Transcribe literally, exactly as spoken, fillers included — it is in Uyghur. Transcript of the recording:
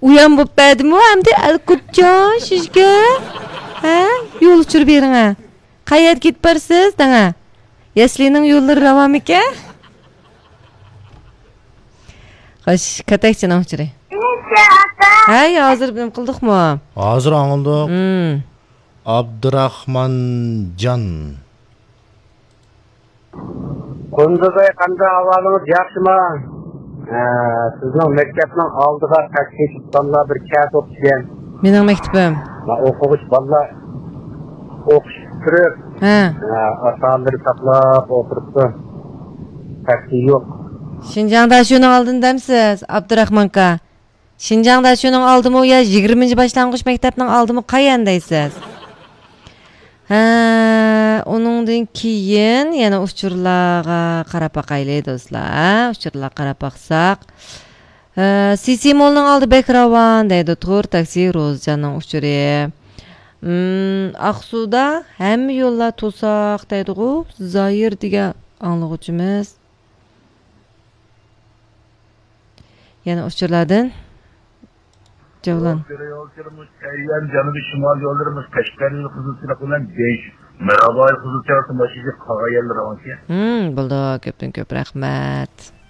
ئۇيان بوپ بەردىمۇ ئەمدى ئەلكۇتجان سىزگە؟ ھە؟ يول ئۇچۇر بېرىڭە. قەيەرگە كېتىپ بارىسىز دەڭە. يەسلىنىڭ يوللىرى راۋانمىكەن؟ خوش، كاتەكچىنىڭ ئۇچۇرى. ھەي، ھازىر نېمە قىلدۇقمۇ؟ ھازىر ئاڭلىدۇق. مم. ئابدۇراخمانجان. قۇندۇزاي، قانداق ئەھۋالىڭىز، ياخشىما؟ ھە، سىزنىڭ مەكتەپنىڭ ئالدىغا تاكسى تۇتقانلار بىر كەس بوپتىكەن. مېنىڭ مەكتىپىم. ما ئوقۇغۇچى بالىلار ئوقۇش پۈتتۈرۈپ، ھە. ھە، ئاتا-ئانىلىرى ساقلاپ ئولتۇرۇپتۇ. تاكسى يوق. شىنجاڭدا شۇنىڭ ئالدىنى دەمسىز، ئابدۇراخمانكا؟ شىنجاڭدا شۇنىڭ ئالدىمۇ يا يىگىرمىنچى باشلانغۇچ مەكتەپنىڭ ئالدىمۇ قايان دەيسىز؟ ھە، ئۇنىڭدىن كېيىن يەنە ئۇچۇرلارغا قاراپ باقايلى، دوستلار. ھە، ئۇچۇرلارغا قاراپ باقساق. ھە، سىسى مولنىڭ ئالدى بەك راۋان دەيدۇ، تور تاكسى روزىجاننىڭ ئۇچۇرى. مم، ئاقسۇدا ھەممە يوللار توساق دەيدىغۇ، زايىر دېگەن ئاڭلىغۇچىمىز. يەنە ئۇچۇرلاردىن جەۋلان. يول يوللىرىمىز تەييار، جەنۇبىي شىمال يوللىرىمىز قەشقەر يولى قىزىلچىلىق بىلەن دېيىش، مىراباي قىزىلچىلىق ماشىنىسى قالغان يەرلىرى ئاڭكى. ھىم، بولدى، كۆپتىن كۆپ رەھمەت.